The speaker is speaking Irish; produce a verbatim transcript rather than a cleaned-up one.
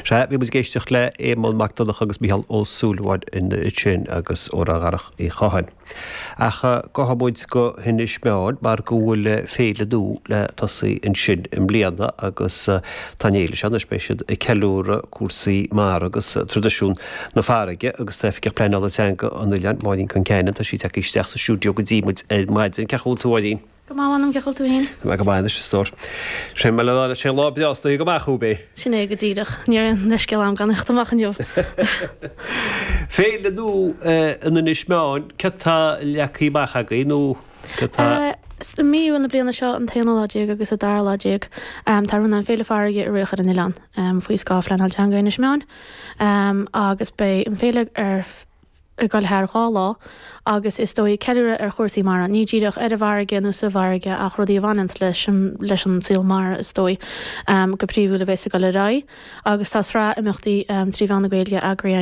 Sea, bhí muid ag éisteacht le Éamonn Mac Donncha agus Micheál Ó Súilleabháin ansin agus ó Dharach Uí Chatháin. Ach gabhfaidh muid go hInis Meáin mar go bhfuil féile nua le tosaí ansin i mbliana agus tá an fhéile seo anois beidh siad ag ceiliúradh cúrsaí mara agus traidisiún na farraige agus tá Oifigeach Pleanála Teanga an oileáin, Máirín Concannon, tá sí tagtha isteach sa stiúideo go dtí muid ar maidin. Cén chaoi a bhfuil tú a Mháirín? Go maith anam cén chaoi a bhfuil tú féin? Tá mé go maith anois a stór. Sé mar le sé lá breá is go amach thú é. Sin é go díreach ní raibh aon leithscéal agam gan theacht amach inniu. Féile nua in Inis Meáin, céard tá leagtha amach agaibh nó céard tá I mí Iúil na bliana seo an t-aonú lá déag agus an dara lá déag tá rún an Féile Farraige a rith ar an oileán faoi scáth Phleanáil Teanga Inis Meáin agus beidh an féile ar ag dul thar dhá lá agus is dóigh ceiliúradh ar chúrsaí mara, ní díreach ar an bhfarraige nó sa bhfarraige ach rudaí a bhaineann leis leis an saol mara is dóigh go príomhúil a bheas ag dul ar aghaidh agus tá sraith imeachtaí trí mheán na Gaeilge eagraithe